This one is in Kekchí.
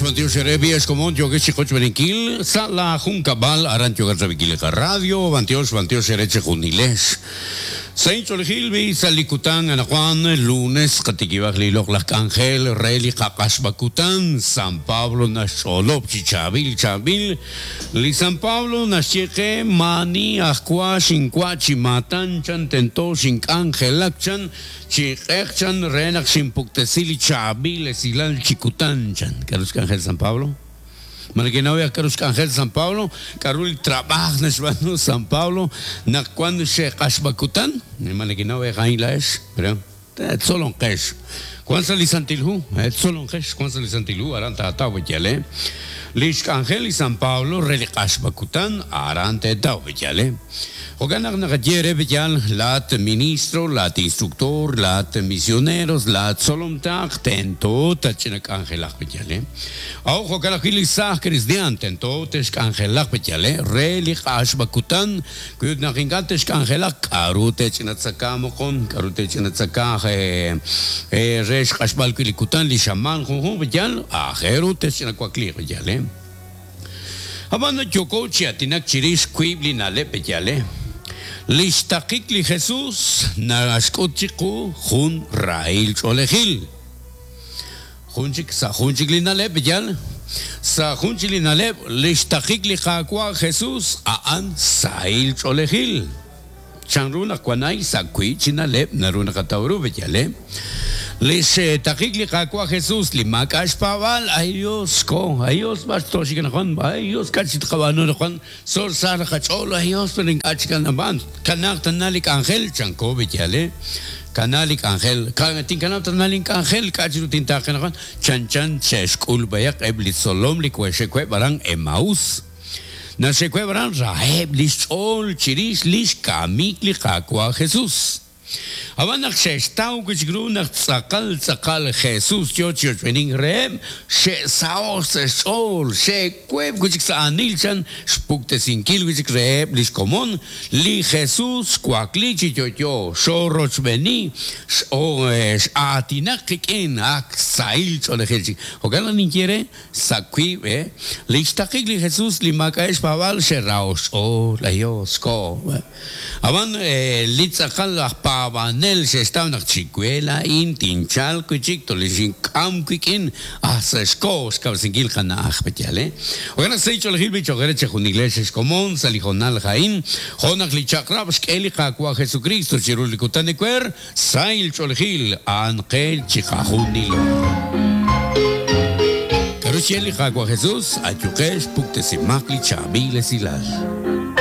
bantiox, bantiox eere b'i xkomon yookex chi qochb'eeninkil sa' laa junkab'al aran yookat rab'inkil li qaradio, bantiox, bantiox eere chejunilex. Sa' inch'oolejil b'i sa' li kutan anaqwan lunes qatikib'aq li loq'laj k'anjel re li qaq'axb'a kutan, San Pablo naxch'olob' chi chaab'il chaab'il Li San Pablo naxye qe, Maani aj wa xinwa' chi maatan chan tento xink'anjelak chan chi q'eq chan re naq xinpuktesi li chaab'il esilal chi kutan chan. K'aru xk'anjel San Pablo? Ma nekenaw aj k'aru xk'anjel San Pablo? K'aru li trab'aaj naxb'aanu San Pablo naq wank xe'q'axb'a kutan? Ma nekenaw a'in laa'ex? Tzolonqex. Wank sa' li Santil Hu. Tzolonqex. Wank sa' li Santil Hu. Aran taataw b'ayale. Li xk'anjel li San Pablo re li q'axb'a kutan, aran teetaw b'ayale. Jo'kan naq naqaye eere b'ayal, laa'at ministro, laa'at instructor, laa'at misioneros, laa'at tzolom taq, tento tatch'ina k'anjelaq b'ayale. A'ut jo'kan ajwi' li saaj kristiaan tento te'xk'anjelaq b'ayale re li q'axb'a kutan. Wi ut naq ink'a' texk'anjelaq, k'a'ru te'ch'inatzaka moqon? K'a'ru te'ch'inatzaka re xq'axb'al wi' li kutan, li xamaan junjunq? Yal aajel ru texch'inawakliiq, yal e. Ab'an yooko chi aatinak chirix wiib' li na'leb', yal e. Li xtaqik li Jesus naxk'ut chiqu jun rahil ch'oolejil. Jun chik, sa' jun chik li na'leb', yal, sa' jun chik li na'leb', lix taqik li Qaawa' Jesus a'an sahil ch'oolejil. Chan ru naq wan a'in sa' wiib' chi na'leb' naru naqataw ru, yal, eh? Lix taqik li Qaawa' Jesus li maak'a' xpaab'aal, Ay Dios, xko, ay Dios, b'ar tooxik anaqwan, ay Dios, k'a' chik tqab'aanu anaqwan, tzol sa' li qach'ool, ay Dios, pero ink'a' chik anab'an, kanaaq tana li k'anjel, chanko, yal, eh? Kanaa li k'anjel. Tinkanab' tana link'anjel, k'a' chi ru tintaaqe anaqwan? Chanchan xe'xk'ul b'ayaq eb' li tzolom li we'xe'web' aran Emaús. Naxe'web' aran raheb' li xch'ool chirix li xkamik li Qaawa' Jesús. Ab'an naq xe'xtaw wi' chik ru naq tz'aqal tz'aqal Jesús yo chi ochb'eenink reheb', xe'saho'k sa' xch'ool, xe'web' wi' chik sa' aanil chan xpuktesinkil wi' chik reheb' li xkomon Li Jesus xwakli chi yo'yo, xoorochb'eeni, x'aatinak qik'in, ak sahil ch'oolejil chik. Jo'kan naq ninye eere, sa' wiib' e, li xtaqik li Jesus li maak'a'eb' xpaab'aal xe'raho' xch'ool, ay Dios, xkoho. Ab'an li tz'aqal aj paab'anel xe'xtaw naq chi we laa'in tinchalq wi' chik, tolexink'am wik'in, ah sa' xkoho xkawresinkil qana'aj, pe'yaal e? Jo'kan naq sa' ch'oolejil b'i' cho'q eere chejunilex ex komon sa' li hoonal a'in, jo' naq li chaq'rab' xk'e li Qaawa' Jesukristo chiru li kutan ewer, sahil ch'oolejil a'an qe chiqajunilo. K'aru xye li Qaawa' Jesus? Ayuqex, puktesimaq li chaab'il esilal.